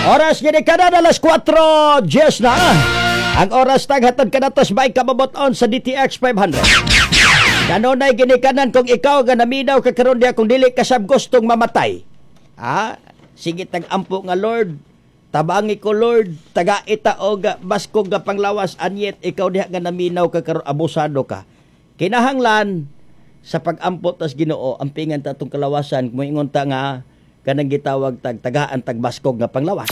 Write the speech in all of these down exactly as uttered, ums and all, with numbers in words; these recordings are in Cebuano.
Oras gini kada alas kwatro diyes na. Ang oras taghatod kanatos by kababoton sa D T X five hundred. Kanunay ginikanan kung ikaw nga naminaw ka karon diya, kung dili ka sab gustong mamatay. Ha? Sige tag ampo nga, "Lord, tabangi ko Lord, taga ita og baskog nga panglawas," anyet ikaw diha nga naminaw ka karon, abusado ka. Kinahanglan sa pag-ampo tas Ginoo, ampingan ta atong kalawasan, moingon ta nga kanang gitawag tag tagaan tag baskog nga panglawas.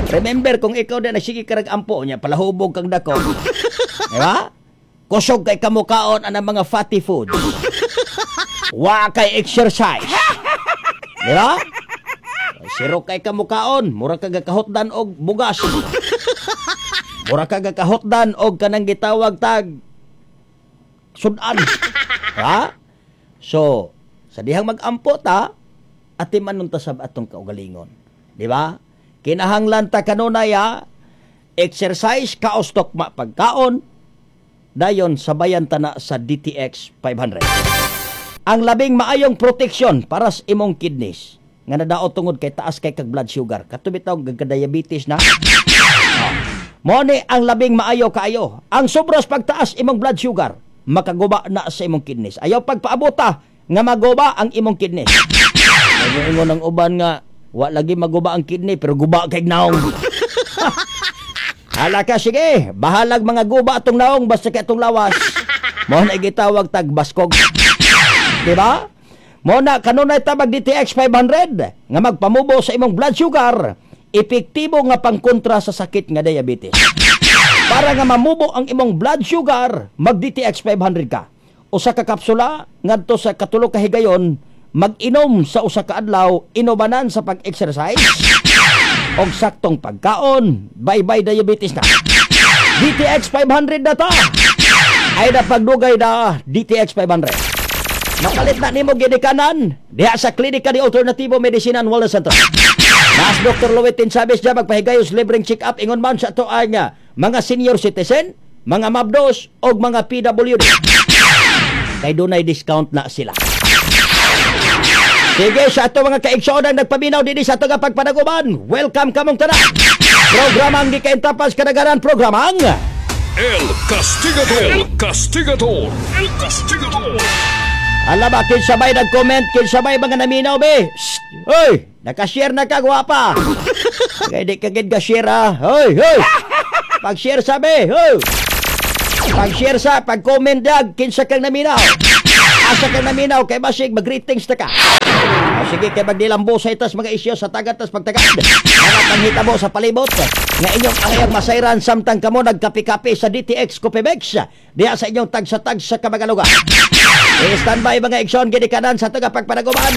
Remember, kung ikaw na nagsige karag ampo niya, palahubog kang dako. Di ba? Kusog kay kamukaon ang mga fatty food. Wa kay exercise. Di ba? Siro kay kamukaon, mura ka gakahotdan og bugas. Mura ka gakahotdan og kanang gitawag tag sudan. Ha? So, sa dihang mag-ampo ta, atiman nun ta sab atong kaugalingon. Di ba? Kinahanglan ta kanunay ha, exercise, kaos tokma pagkaon, dayon sabayan ta na sa D T X five hundred. Ang labing maayong protection para sa imong kidneys nga nadaot tungod kay taas kay kag blood sugar. Kato bitaw diabetes na. Oh. Mo ni ang labing maayo kaayo. Ang sobras pagtaas imong blood sugar, makaguba na sa imong kidneys. Ayaw pagpaabota nga maguba ang imong kidneys. Kaya ingon ang uban nga wa lagi maguba ang kidney pero guba kay naong. Hala ka, sige, bahalag mga guba atong naong basta kay atong lawas. Mo na gitawag tag baskog. Di ba? Mo na kanunay ta mag D T X five hundred nga magpamubo sa imong blood sugar, epektibo nga pangkontra sa sakit nga diabetes. Para nga mamubo ang imong blood sugar, mag D T X five hundred ka. Usa ka kapsula ngadto sa katulo ka higayon, mag-inom sa usa ka adlaw, inubanan sa pag-exercise og saktong pagkaon, bye-bye diabetes na. D T X five hundred na ta. Ay na pagdugay na D T X five hundred. Mapalit na nimo ginikanan diha sa Klinika di Alternativo Medicina and Wellness Center. Nas Doctor Luwitin Chavez diya magpahigayos libreng check-up ingon man sa ato ang ah, mga senior citizen, mga mabdos og mga P W D. Kay dunay discount na sila. Sige, sa ato mga kaigsoon ang nagpaminaw dinhi sa ato nga pagpanaguban. Welcome kamong tanan. Programang gikaintapas kadagaran, programang El Castigador. El Castigador. El Castigador. Ala ba, kinsa bay nag-comment, kinsa bay mga naminaw be? Shh! Hoy, naka-share na ka, gwapa. Kaya di ka gid ka-share ah. Hoy, hoy. Pag-share sa be, hoy. Pag-share sa, pag-comment dag, kinsa kang naminaw. Asa kang naminaw, kay basig, mag-greetings ta ka. O, sige, kay magdilambo sa itas mga isyo sa tagat tas pagtagad. Mga panghitabo sa palibot. Nga inyong angayang masayran samtang kamo nagkape-kape sa D T X Coffee. Diha sa inyong tagsa-tag sa kamagalugar. I-standby mga igsoon ginikanan sa taga pagpanaguman.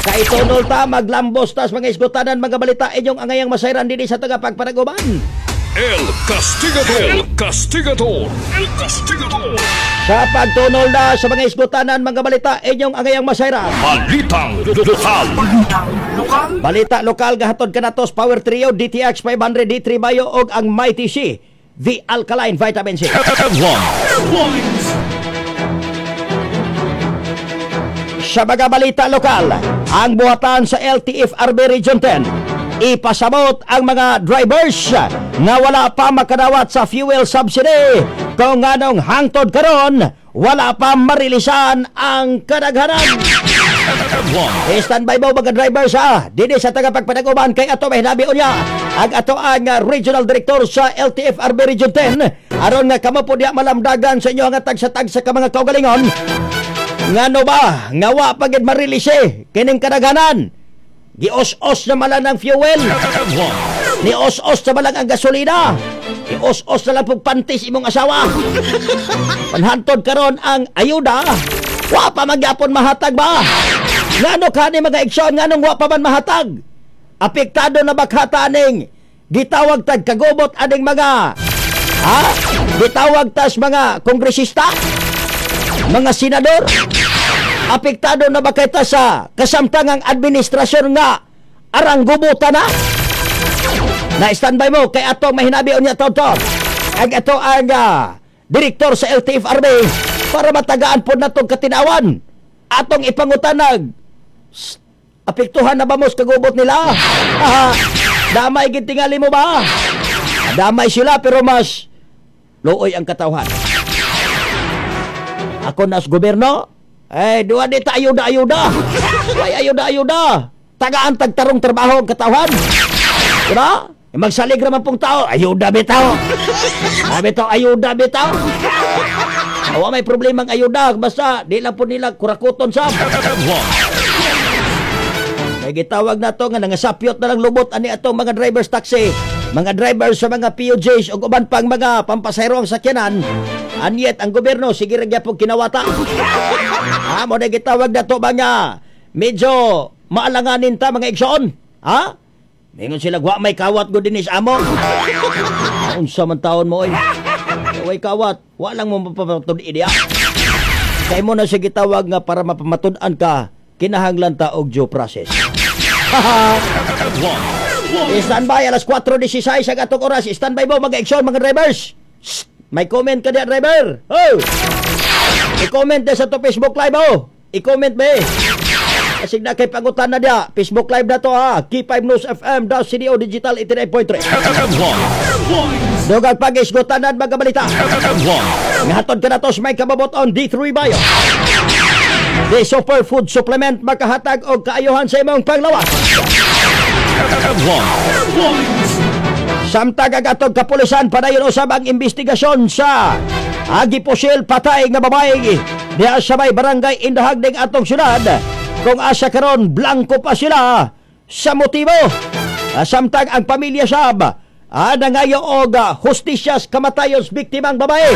Kay tunol ta maglambos tas mga isgutanan mga balita inyong angayang masayran dinhi sa taga pagpanaguman. El Castigador. El Castigador. El Castigador. Sa pagtunol na sa mga isgutanan mga balita inyong angayang masayran. Balitang Lokal. Balita lokal gahatod kanatos Power Trio D T X five hundred D three Bio og ang Mighty C, the Alkaline Vitamin C. Headlines. Sa mga balita lokal, ang buhatan sa L T F R B Region ten ipasabot ang mga drivers nga wala pa makadawat sa fuel subsidy kung nganong hangtod karon wala pa marilisan ang kadaghanan. Headline. Standby mo mga drivers ha. Dini sa tagapagpanaguban kay ato may hinabi unya ang ato ang uh, regional director sa L T F R B Region ten aron nga kamo po diya malamdagan sa inyo nga tagsa-tagsa ka mga kaugalingon. Ngano ba nga wa pa gid ma-release kining kadaghanan? Gios-os na malang ang fuel. Headline. Ni os-os na malang ang gasolina. Ni os-os na lang pong panties imong asawa. Panhantod karon ang ayuda. Wa pa magyapon mahatag ba? Ngano kani mga igsoon, nganong wa pa man mahatag? Apektado na ba kata aning gitawag tag kagubot aning mga, ha? Gitawag tas mga kongresista? Mga senador? Apektado na ba kita sa kasamtangang administrasyon nga arang gubutan na? Na standby mo kay ato mahinabi unya to to. Ang ato ang ah, direktor sa L T F R B para matagaan po natong katinawan. Atong ipangutanag. Sst, apektuhan na ba mo sa kagubot nila? Ah, Damay gid tingali mo ba? Damay sila pero mas luoy ang katawhan. Ako nas gobyerno, eh, duwa di ta ayuda ayuda. Way ayuda ayuda. Tagaan tagtarong trabaho ang katawhan. Diba? Eh, magsalig raman pong tao, ayuda bitaw. Ah, bitaw, ayuda bitaw. Awa may problemang ayuda, basta di lang po nila kurakuton sa. May gitawag na to nga nangasapyot na lang lubot ani atong mga drivers taxi, mga drivers sa mga P O Js ug uban pang mga pampasahero ang sakyanan. And yet ang gobyerno sige ra gyapon kinawata. Ha, mo na gitawag na to ba nga medyo maalanganin ta, mga igsoon. Ha? Mingon sila, "Wa may kawat gud dinis amo." Unsa man taon mo oy? Way kawat, wa lang mo mapamatud diya. Kay mo na siya gitawag nga para mapamatud-an ka, kinahanglan ta og due process. Stand by, alas kwatro sisay sa atong oras. Stand by mo, mga igsoon, mga drivers. Shh! May comment ka diya, driver. Oh! I-comment na sa to Facebook Live, oh. I-comment ba eh. Kasi na kay pangutan na diya. Facebook Live na to ha. K five News F M, daw C D O Digital eighty-nine point three. Dugang pag-isgutanan mga balita. Ngahatod ka na to sa may kababot on D three Bio. The Superfood Supplement, makahatag og kaayuhan sa imong panglawas. Samtang ang atong kapulisan, padayon usab ang investigasyon sa agi pusil patay nga babae diha sa may Barangay Indahag ning atong syudad, kung asa karon blanko pa sila sa motibo. Ah, Samtang ang pamilya sab ah, nangayo og ah, hustisya sa kamatayon sa biktimang babae.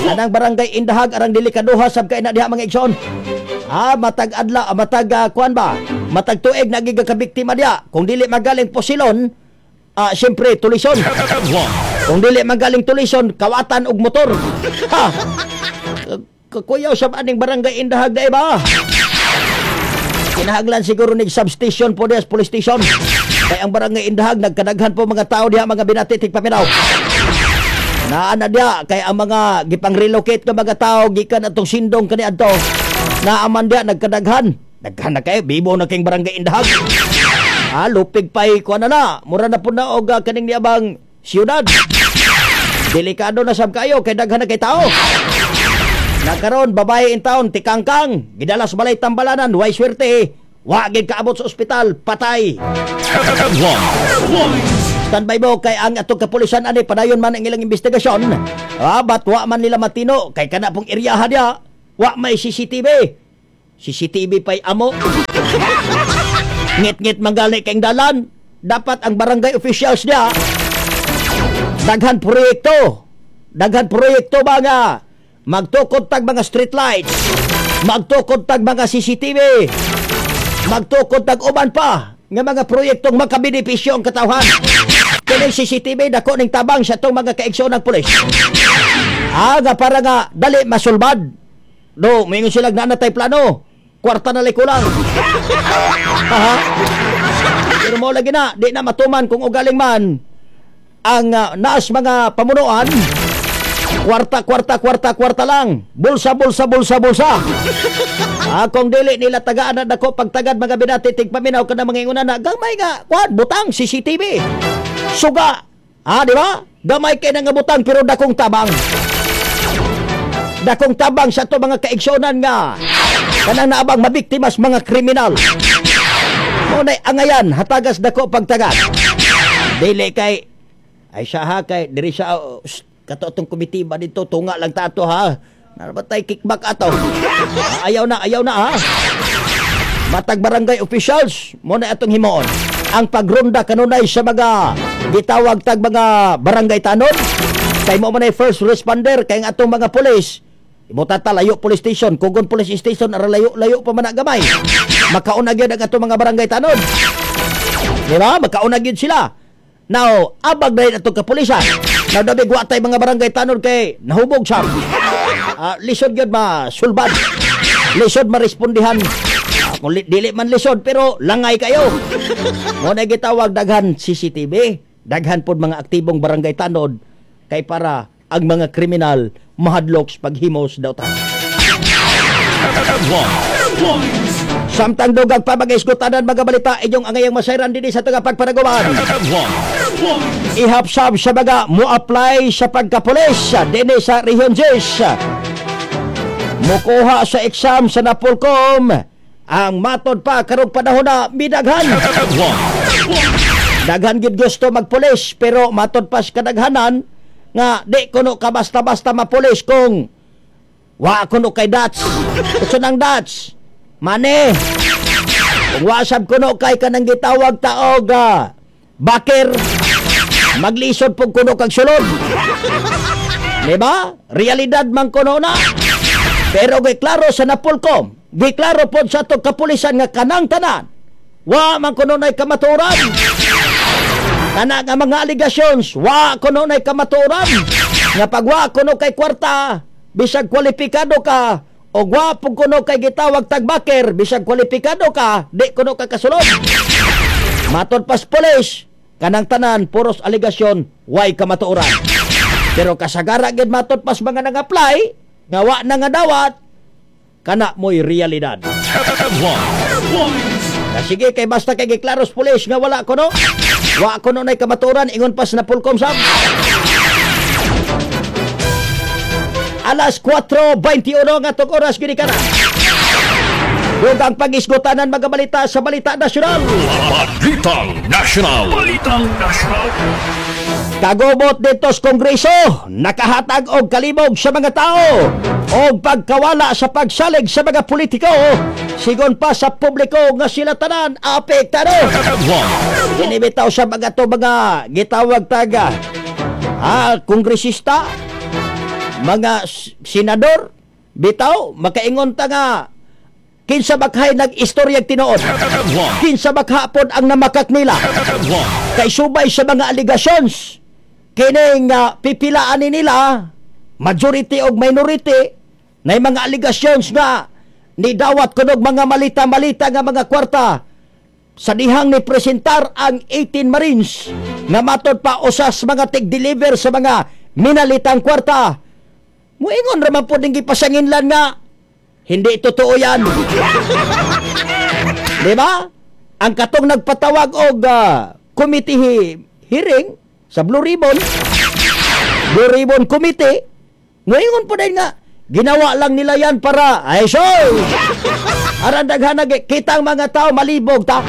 Anang Barangay Indahag arang delikaduha sab kay na diha, mga igsoon. Ah, matag adla, ah, matag ah, kuan ba? Matag tuig nagiga ka biktima diha. Kung dili magaling posilon, ah, siyempre tulison. Kung dili magaling tulison, kawatan og motor. Ha. Kuyaw sa aning Barangay Indahag na iba. Kinahanglan siguro nig substation po diha sa police station. Kay ang Barangay Indahag nagkadaghan po mga tao diha, mga binati tigpaminaw. Naa na diha kay ang mga gipang-relocate nga mga tao gikan atong Sindong kaniadto. Naaman diha nagkadaghan. Daghan na kayo, bibo na kayong Barangay Indahag. Ah, lupig pa'y kuan na na. Mura na po na og ah, kaning niabang siyudad. Delikado na sab kayo kay daghan na kay tao. Nakaron babae in town tikangkang gidala sa balay tambalanan, way swerte. Wa gid kaabot sa ospital, patay. Standby mo kay ang atong kapulisan ani padayon man ang ilang investigasyon. Ah, but wa man nila matino kay kana pong eryaha diha wa may C C T V. C C T V pa'y amo. Ngit-ngit manggali kay dalan. Dapat ang barangay officials diha daghan proyekto. Daghan proyekto ba nga magtukod tag mga street lights, magtukod tag mga C C T V, magtukod tag uban pa nga mga proyektong makabenepisyo ang katawhan. Kining C C T V dako ning tabang sa itong mga kaigsoon ng pulis. Ah, nga para nga dali masulbad. Do, moingon sila na natay plano. Kwarta na kulang. Ha? Pero mo lagi na, di na matuman kung ugaling man ang uh, naas mga pamunuan, kwarta, kwarta, kwarta, kwarta lang. Bulsa, bulsa, bulsa, bulsa. Ah, kung dili nila tagaan na dako pagtagad, mga binati tigpaminaw, kana mga inguna na gamay nga kuan butang C C T V. Suga. Ah, di ba? Gamay kay na nga butang pero dakong tabang. Dakong tabang sa to mga kaigsonan nga kanang naabang mabiktimas mga kriminal. Mo nay angayan hatagas dako pagtagad. Dili kay ay siya ha, kay diri siya, oh, shh, kato atong komite ba dito, tunga lang tato ha. Narabatay kickback ato. Ah, ayaw na, ayaw na ha. Matag barangay officials mo na atong himuon. Ang pagronda kanunay sa mga gitawag tag mga barangay tanod kay mo man ay first responder, kay ang atong mga pulis Ibuta ta layo police station, Kugon Police Station ara layo-layo pa man na gamay. Makauna gyud ang atong mga barangay tanod. Di ba? Makauna gyud sila. Now, abag na rin atong kapulisan. Now, dabig wa tay mga barangay tanod kay nahubog siya. Ah, lisod gyud ma sulbad. Lisod marespondihan. Ah, kung li- dili man lisod pero langay kayo. Mo na gitawag daghan C C T V, daghan pod mga aktibong barangay tanod kay para ang mga kriminal mahadlok sa paghimos daw ta. One. Samtang dugang pa mga isgutanan, mga balita inyong angayang masayran dinhi sa taga pagpanaguman. One. Ihapsab sa mga mo-apply sa pagkapulis dinhi sa Region ten. Mukuha sa exam sa Napolcom ang matod pa karong panahon na midaghan. One. Daghan gid gusto magpulis, pero matod pa sa kadaghanan nga di kuno ka basta-basta mapulis kung wa kuno kay DOTS. Unsa nang DOTS? Mane. Kung wa sab kuno kay kanang gitawag taog ah, backer, maglisod pug kuno kag sulod. Di ba? Realidad man kuno na. Pero giklaro sa Napolcom, giklaro pod sa atong kapulisan nga kanang tanan wa man kuno nay kamatuoran. Kana nga mga allegations, wa kuno nay kamatuoran. Nga pag wa kuno kay kwarta, bisag kwalipikado ka, o wa pug kuno kay gitawag tag backer, bisag kwalipikado ka, di kuno ka kasulod. Matod pas pulis, kanang tanan puros alegasyon, way kamatuoran. Pero kasagara gid matod pas mga nag-apply, nga wa na nga dawat, kana mo'y realidad. One. Na sige kay basta kay giklaros pulis nga wala kuno. Wa kuno nay kamatuoran ingon pas Napolcom sab. Alas kwatro bayente uno nga tong oras gini kana. Dugang pag-isgutanan mga balita sa Balita Nasyonal. Balitang National. Balitang National. Kagubot dito sa Kongreso, nakahatag og kalibog sa mga tao og pagkawala sa pagsalig sa mga politiko, sigon pa sa publiko nga sila tanan apektado. One. Dinibitaw sa mga to mga gitawag taga ah, kongresista, mga s- senador, bitaw makaingon ta nga kinsa bakhay nag-istoryag tinuod, One. kinsa bakhapon ang namakak nila One. kay subay sa mga allegations kining uh, pipilaan ni nila, majority og minority, na mga allegations nga nidawat kunog mga malita-malita nga mga kwarta sa dihang ni presentar ang eighteen Marines nga matod pa usas mga tig-deliver sa mga minalitang kwarta. Muingon raman po ding gipasanginlan nga hindi totoo yan. Di ba? Ang katong nagpatawag og ah, committee he- hearing sa Blue Ribbon, Blue Ribbon Committee, ngayon po din nga, ginawa lang nila yan para, ay so, aran daghan kitang mga tao malibog ta.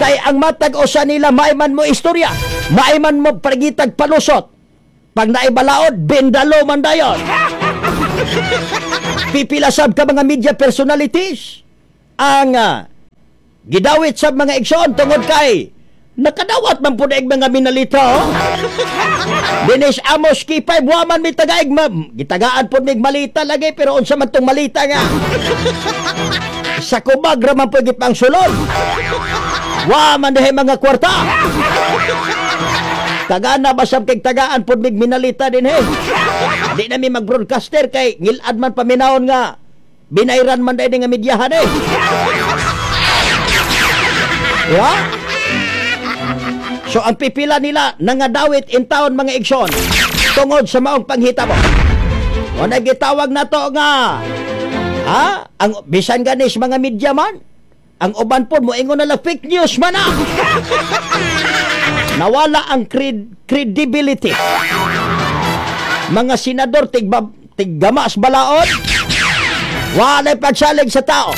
Kay ang matag usa nila, maiman mo istorya, maiman mo pagitag palusot. Pag naibalaod, bendalo man dayon. Pipilasab ka mga media personalities ang ah, gidawit sa mga igsoon tungod kay nakadawat man po daig mga minalita, oh. Dinis Amos K five waman mi tagaig ma'am. Gitagaan po mig malita lagi, pero unsa man tong malita nga sa kubag ra man po gipangsulod. Wa man dihay mga kwarta. Tagana ba sab kay tagaan pod mig minalita din he. Di na mi mag-broadcaster kay ngilad man paminawon nga binayran man dahil nga medyahan eh. Ya? So ang pipila nila nangadawit in town mga igsoon tungod sa maong panghitabo. O nagitawag na to nga ha, ang bisan ganis mga media man, ang uban po moingon na lang fake news man ah. Nawala ang cred- credibility. Mga senador tigba, tiggamas balaod. Walay pagsalig sa tao.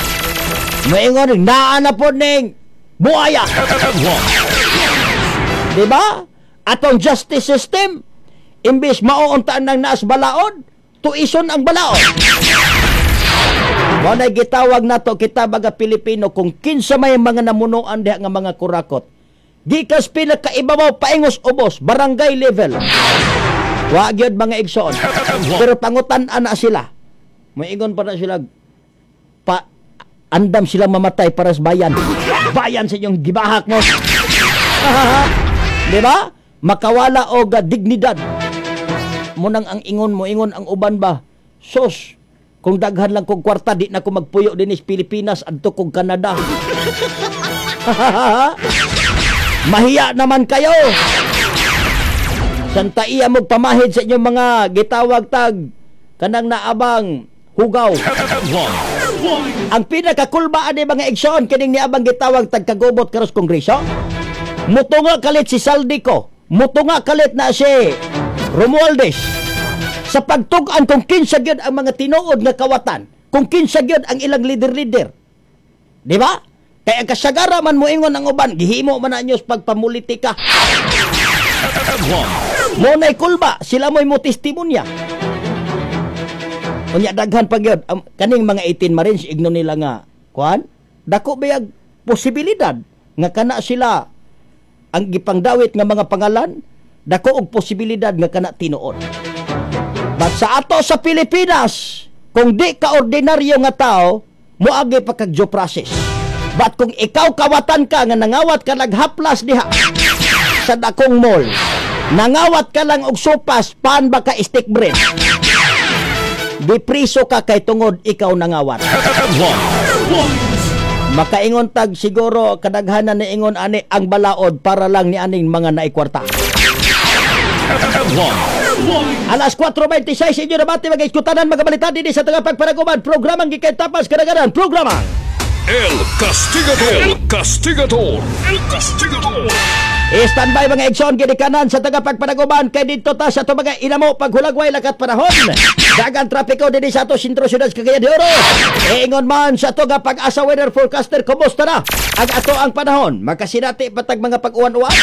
Moingon naa na po ning buaya. Di ba? Atong justice system, imbis mauuntaan ng naas balaod, tuison ang balaod. Mao na gitawag nato kita mga Pilipino kung kinsa may mga namunuan diha nga mga kurakot. Gikas pinakaibabaw paingos ubos, barangay level. Wa gyud mga igsoon. Pero pangutan-an na sila. Moingon pa na sila pa andam sila mamatay para sa bayan. Bayan sa inyong gibahak mo. Di ba? Makawala og ah, dignidad. Munang ang ingon mo, ingon ang uban ba? Sos, kung daghan lang kog kwarta, di na ko magpuyo dinis Pilipinas, adto kog Canada. Mahiya naman kayo. Santa iya mo pamahid sa inyong mga gitawag tag kanang naabang hugaw. Ang pinakakulba ani, mga igsoon, kining niabang gitawag tagkagubot karos kongreso. Mutunga kalit si Zaldy Co. Mutunga kalit na si Romualdez sa pagtug-an kung kinsa gyud ang mga tinuod nga kawatan, kung kinsa gyud ang ilang leader-leader. Di ba? Kaya ang kasagara man moingon ang uban, gihimo man na inyo sa pagpamulitika. Headline. Mo na'y kulba, sila mo'y mo testimonya. Unya daghan pa gyud um, kaning mga eighteen Marines, igno nila nga kuan, dako bayag posibilidad nga kana sila ang gipangdawit nga mga pangalan, dako og posibilidad nga kana tinuod. But sa ato sa Pilipinas, kung di ka ordinaryo nga tao, moagi pa kag due process. But kung ikaw kawatan ka nga nangawat ka naghaplas diha sa dakong mall, nangawat ka lang og sopas, pan ba ka stick bread? Di priso ka kay tungod ikaw nangawat. Headline. Makaingon tag siguro kadaghanan ni ingon ani ang balaod para lang ni aning mga naikwarta. Headline. Alas kwatro bente sais, inyo nabati, mga iskutanan, mga balita dinhi sa tagapagpanaguman, programang gikay tapas kadaganan, programa El Castigador. El Castigador. El Castigador. Standby, mga igsoon, ginikanan sa tagapagpanaguman kay didto ta sa ato mga inamo paghulagway lakat panahon. Dagan trapiko dinhi sa ato sentro syudad sa Cagayan de Oro. Ingon man sa ato nga Pag-asa weather forecaster, kumusta na ang ato ang panahon? Makasinati patag mga pag-uwan-uwan?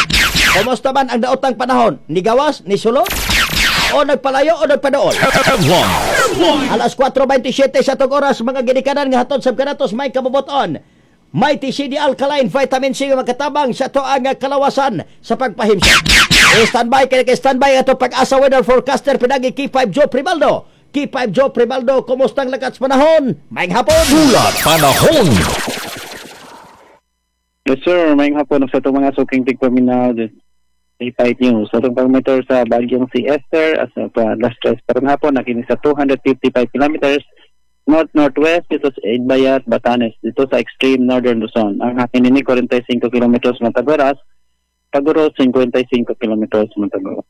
Kumusta man ang daotang panahon? Nigawas, ni sulod? O nagpalayo o nagpadaol? Headline. Alas kwatro bente siyete sa atong oras, mga ginikanan nga hatod sa kanatos may kabuboton. Mighty C D Alkaline Vitamin C nga makatabang sa ato ang kalawasan sa pagpahimsog. Standby kay kay standby ato Pag-asa weather forecaster pinagi K five Joe Primaldo. K five Joe Primaldo, kumusta ang lakat sa panahon? Maayong hapon. Ulat Panahon. Yes sir, maayong hapon sa itong mga suking tigpaminaw K five News. Sa itong pag-monitor sa bagyong si Esther as of uh, last tres karong hapon, nakini sa two hundred fifty-five kilometers north-northwest dito sa Itbayat, Batanes, dito sa extreme northern Luzon. Ang hangin nini forty-five kilometers matag oras, pag-uros fifty-five kilometers matag oras.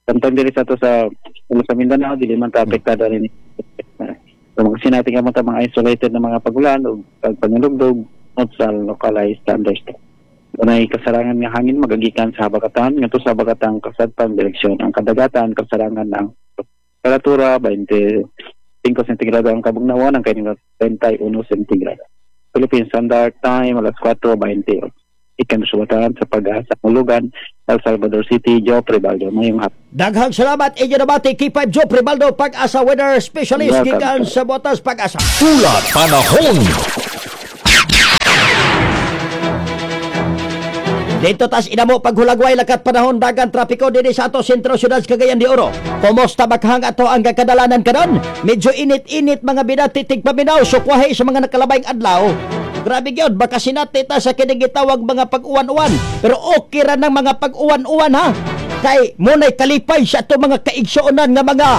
Samtang diri sa ato sa sa Mindanao, dili man ta apektado nini. So, mga sinati ka mga mga isolated na mga pagulan o pagpanulugdog not sa localized thunderstorm. Dunay kasarangan nga hangin magagikan sa habagatan ngadto sa habagatang kasadpang direksyon. Ang kadagatan kasarangan ng temperatura twenty-five sentigrado ang kabugnawan, ang kainitan treinta y uno sentigrado. Philippine Standard Time, alas kwatro bente. Ikan suwatan sa Pag-asa Mulugan, El Salvador City, Joe Prevaldo. Maayong hapon. Daghang salamat, inyo nabati K five Joe Primaldo, Pag-asa weather specialist Welcome. Gikan sa Botas Pag-asa. Ulat Panahon. Dito tas inamo paghulagway lakat panahon, dagan trapiko dinhi sa ato sentro syudad sa Cagayan de Oro. Kumusta bakhang ato ang kakadalanan karon? Medyo init-init, mga binati tigpaminaw, sukwahi sa mga nakalabayng adlaw. Grabe gyud, baka sinati ta sa kining gitawag mga pag-uwan-uwan. Pero okay ra ng mga pag-uwan-uwan ha. Kay munay kalipay sa ato mga kaigsuonan nga mga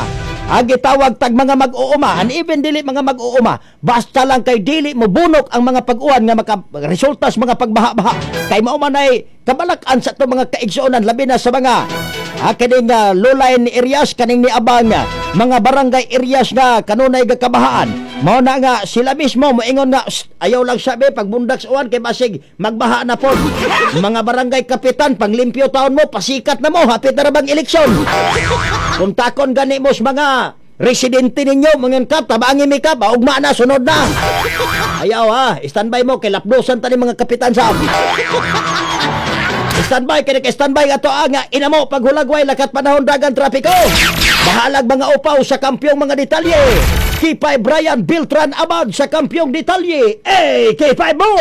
ang gitawag tag mga mag-uuma and even dili mga mag-uuma, basta lang kay dili mo bunok ang mga pag-uwan nga maka resulta sa mga pagbaha-baha, kay mao man ay kabalak-an sa ato mga kaigsuonan, labi na sa mga ah, kining uh, lowline areas, kaning niabang uh, mga barangay areas nga kanunay gakabahaan. Mao na nga sila mismo moingon nga, "Sst, ayaw lang sabi pagbundak sa uwan kay basig magbaha na pod. Mga barangay kapitan, panglimpyo taon mo, pasikat na mo, hapit na ra bang eleksyon? Kung takon gani mo sa mga residente ninyo, mga kap, tabangi mi kap, ugma na, sunod na. Ayaw ha, standby mo, kay lapdosan ta ni mga kapitan sa. Standby, kaya standby ato ang inamo paghulagway lakat panahon, dagan trapiko. Bahalag mga upaw sa kampyong mga detalye. K five Brian Beltran Abad sa kampyong detalye. Eh, K five mo!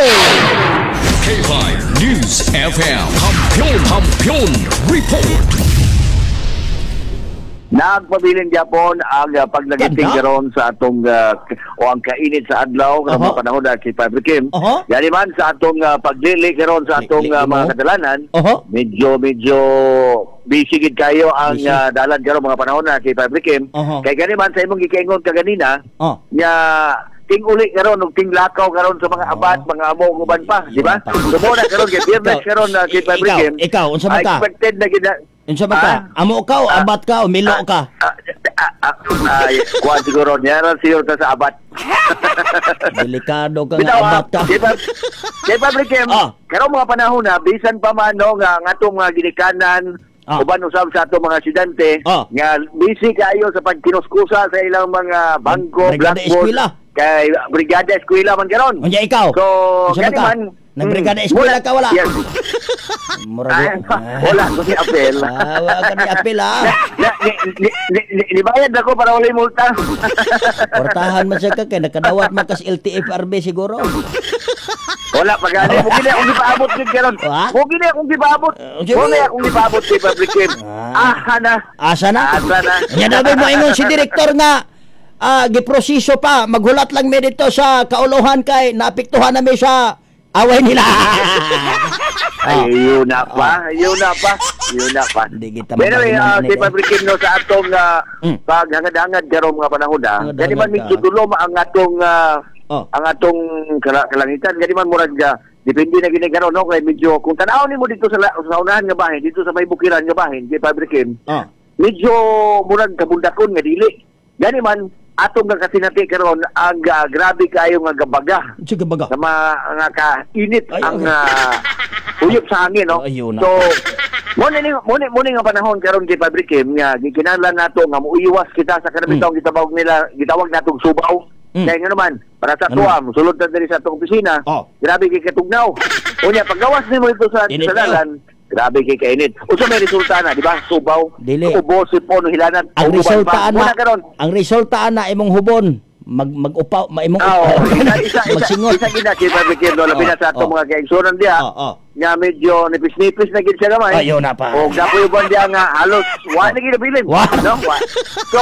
K five News F M. Kampiyon, Kampiyon Report. Nagpabilin gyapon ang uh, paglagiting Ganda. karon sa atong uh, o ang kainit sa adlaw karong Oho. mga panahon na kay Padre Kim. Oho. Yani man sa atong uh, paglili karon sa atong Li- uh, li- mga mo? kadalanan, Oho. medyo medyo busy gid kayo ang Busy. uh, dalan karon mga panahon na kay Padre Kim. Oho. Kay gani man sa imong gikaingon kaganina, Oh. nya ting-uli karon ug tinglakaw karon sa mga abat, mga amo ug uban pa, di ba? So mo na karon kay Biyernes Ikaw, karon na kay Padre ikaw, Kim. ikaw, unsa man ka? Expected na gid na- Unsa man ka? Ah? Amo ka o Ah. abat ka o milo ka? Ah, Ah, ah, ay, kuan siguro niya ran siguro ta sa abat. Delikado ka nga Bitaw, ah, abat ka. Kay pa kay Public Kim, Ah. karong mga panahon na bisan pa man no nga ang atong mga ginikanan Ah. uban usab sa atong mga estudyante Ah. nga busy kaayo sa pagkinuskusa sa ilang mga bangko, Brigada blackboard, eskwela. kay brigada eskwela man karon. Unya ikaw. So, Unsa man gani ka? man. Nagbrigada mm, eskwela muna- ka wala? Yes. Murag. Ah, wala ko ni apel. Ah, wala ka ni apel ah. Na, ni, ni, ni, ni, nibayad ako para walay multa. Portahan man siya ka kay nakadawat man kas L T F R B siguro. Wala pa gani. Mo gini akong gipaabot gid karon. Ha? Mo gini akong gipaabot. Uh, unsa Mo mo? ni akong gipaabot kay Public Kim. Ah. Aha na. Asa na? Asa na. Nya dabi mo ingon si direktor nga ah, giproseso pa, maghulat lang mi dito sa kauluhan kay naapektuhan na mi sa away nila. Ay, yun na pa. Yun na pa. Yun na pa. Hindi kita But anyway, magalingan uh, nila kay eh. Public Kim no, sa atong uh, Mm. paghangad-hangad karong mga panahon na, Hangad-hangad gani man ka. medyo dulom ang atong ah, Oh. ang atong kala- kalangitan. Gani man murag ah, depende na gini karon no, kay medyo kung tan-awon nimo dito sa la- sa unahan nga bahin, dito sa may bukiran nga bahin kay Public Kim, Oh. medyo murag kabundakon nga dili. Gani man atong nga kasinati karon ang ah, grabe kaayo nga gabaga Sige baga. nga ma, nga kainit Ay, ang okay. ah, uyop sa hangin no. Ayun na. So mo ni mo ni mo ni nga panahon karon kay Padre Kim nga gikinahanglan nato nga muiwas kita sa kanang Mm. bitawng gitawag nila gitawag natong subaw. Mm. Kaya nga naman, para sa Ano? tuwa, musulod ta diri sa atong opisina. Oh. Grabe kay katugnaw. Unya paggawas nimo ito sa Init sa dalan, grabe kay kainit. Unsa may resulta na, di ba? Subaw, Dili. ubo, sipon, hilanat, Ang uban resulta pa. ana, Muna karon. ang resulta ana imong hubon mag mag-upaw, ma imong Ah, Oo, isa isa isa magsingot. isa gina kay Padre Kim no, labi na sa atong Oh, oh. mga kaigsuonan diha. Oh, oh. Nga medyo nipis-nipis na gid siya gamay. Ayun na pa. O gapoy uban diha nga halos wa na gid nabilin. Wa. No, wa. So,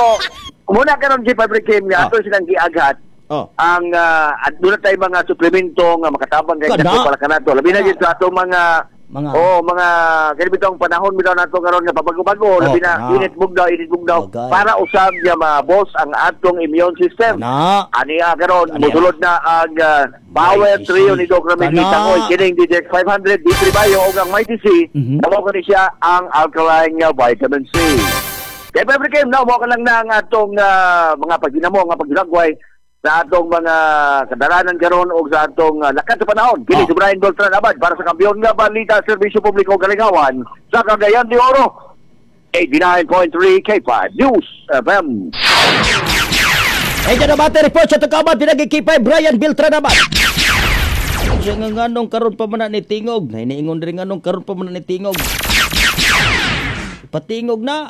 muna karon si Padre Kim nga Oh. ato silang giaghat Oh. ang uh, at doon na tayo mga suplemento nga makatabang kay Kana. nato para kanato. Labi na Kana. gid sa atong mga Mga- Oh, mga kani bitong panahon bitaw nato karon nga pabago-bago, Oh, labi na kana. init bugdaw, init bugdaw Bagay. para usab nga ma-boss ang atong immune system. Kana. Ani karon Ani mosulod na ang ah, Power Mighty Trio C. ni Doc Ramil Kana. Tangoy kining D J five hundred D three Bio ug ang Mighty C. Mhm. Mao kani siya ang alkaline nga vitamin C. Kaya Pwede kayo, no, mo ka lang na ang atong ah, mga pagginamo, nga paglagway sa atong mga kadalanan karon o sa atong uh, lakat sa panahon. Kini Ah. si Brian Beltran Abad para sa Kampeon nga Balita Serbisyo Publiko Kalingawan sa Cagayan de Oro. eighty-nine point three K five News F M. Ay, dyan ang report sa Tukaman, pinagkikipay Brian Beltran Abad. Siya nga nganong karon pa man na ni Tingog. Nainiingon rin nganong karon pa man na ni Tingog. Patingog na.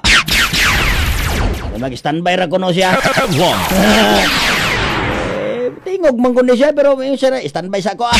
Mag-standby ra kuno siya. Headline. Eh, tingog man kuno siya pero yung siya na, standby sa ako ah.